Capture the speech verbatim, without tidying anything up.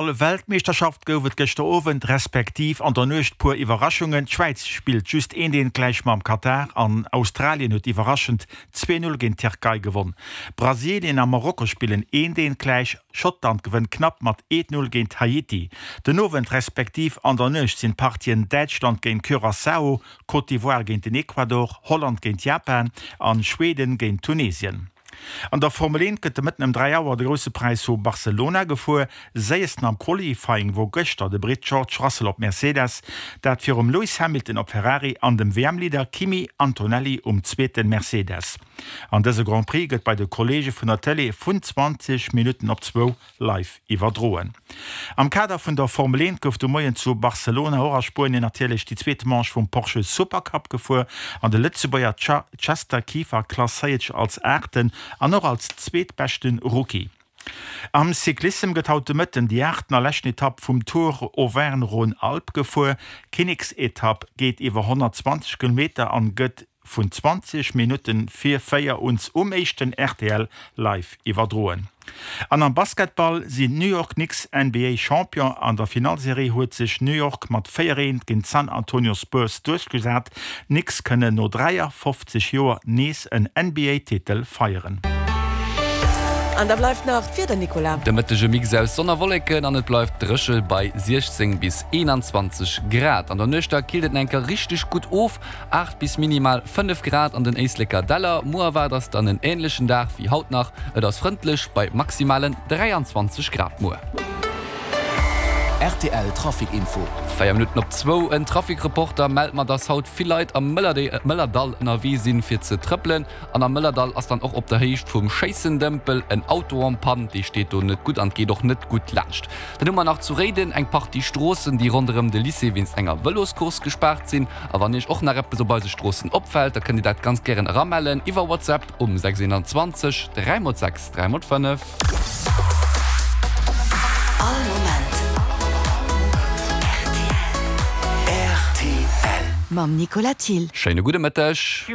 Weltmeeschterschaft gouf et gëschter Owend respektiv an der Nuecht puer Iwwerraschungen. D'Schwäiz spillt just eent eent gläich mam Katar an Australien huet iwwerraschend zwee Null géint d'Tierkei gewonn. Brasilien a Marokko spillen eent eent gläich, Schottland gewënnt knapp mat eent Null géint Haiti. Den Owend respektiv an der Nuecht sinn d'Partien Däitschland géint Curaçao, Côte d'Ivoire géint den Ecuador, Holland géint Japan an Schweden géint Tunesien. An der Formel eent gëtt de Mëtten ëm dräi Auer de Grousse Präis vu Barcelona gefuer. Séiersten am Qualifying wor gëschter de Britt George Russell op Mercedes, dat virum Lewis Hamilton op Ferrari an dem W M-Leader Kimi Antonelli um zweete Mercedes. An dëse Grand Prix gëtt bei de Kolleege vun der Tëlee vun zwanzeg Minutten op zwou live iwwerdroen. Am Kader vun der Formel eent gouf de Moien zu Barcelona, och a Spuenien natierlech, déi zweet Manche vum Porsche Supercup gefuer an de Lëtzebuerger Chester Kieffer klasséiert sech als Aachten an och als zweetbeschte Rookie. Am Cyclissem gëtt haut de Mëtten déi aachten a leschten Etapp vum Tour Auvergne-Rhône-Alpes gefuer. D'Kinneksetapp geet iwwer honnertzwanzeg Kilometer an gëtt vun zwanzeg Minutten vir véier uns um éischten R T L live iwwerdroen. An am Basketball sinn d'New York Knicks N B A Champion. An der Finallserie huet sech New York mat véier eent géint d'San Antonio Spurs duerchgesat. D'Knicks kënnen no dräiafofzeg Joer nees en N B A Titel feieren. An da bleift nach d'Wieder, Nicolas. De Mëtteg e Mix aus Sonn a Wolleken an et bleift dréche bei siechzéng bis eenanzwanzeg Grad. An der Nuecht da killt et nach eng Kéier richteg gutt of, aacht bis minimal fënnef Grad an den Éisleker Däller. Muer erwaart eis dann en änlechen Dag wéi haut nach, et ass frëndlech bei maximalen dräianzwanzeg Grad muer. R T L Trafic Info. Véier Minutten op zwou, En Trafic-Reporter mellt mer, dass haut vill Leit am Mëllerdall ënnerwee sinn, fir ze trëppelen. An am Mëllerdall ass dann och op der Héicht vum Schéissendëmpel en Auto en panne. Dee steet do net gutt an et geet och net gutt laanscht. Dann hu mer nach zu Réiden eng Partie Stroossen, déi ronderëm de Lycée wéinst enger Vëloscourse gespaart sinn. A wann Iech och nach eppes op eise Stroossen opfält, da kënnt Dir dat ganz gären eramellen iwwer WhatsApp um sechs eenanzwanzeg dräi mol sechs dräi mol fënnef. All Moment R T L. Mam Nicolas Thill. Schéine gudde Mëtteg.